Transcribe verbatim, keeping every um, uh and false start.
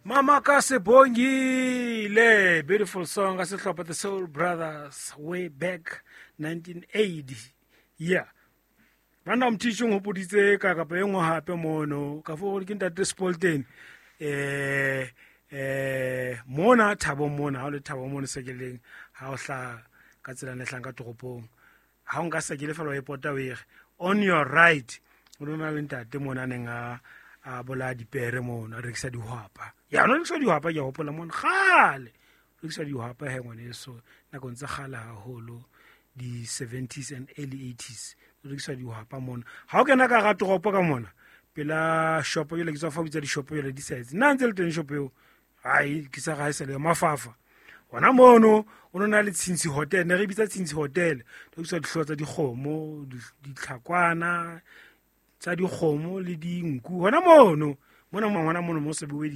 Mama ka Sebongile, beautiful song ka sehlopha The Soul Brothers, way back nineteen eighty. Yeah, banna, mothiši o nghopoditse ka kapa e nngwe gape mono ka fo gore ke ntate Spolten. eh eh mona Thabo, mona ha o le Thabo mono sekeleng, ha o hla ka tsela ne hlang ka toropong, ha o nka sekele fela o e pota, o ere on your right, o na le ntate mona a neng a a bolaya dipere mono, a rekisa dihwapa. Ya no rekisa dihwapa, ke a hopola mono kgale rekisa dihwapa. He ngwaneso, nakong tsa kgale haholo, di-seventies and early eighties, rekisa dihwapa mona. Ha o kena ka hara toropo ka mona pela shopo jole, ke tswa fa bitsa dishopo jole di saetse nna ntse le teng shopo eo, ai ke sa ga e sale mafafa hona mono. O no na le Tshintshi Hotel, ne re bitsa Tshintshi Hotel, rekisa dihlooho tsa dikgomo, ditlhakwana tsa dikgomo le dinku hona mono mona, hona mono mo se bue.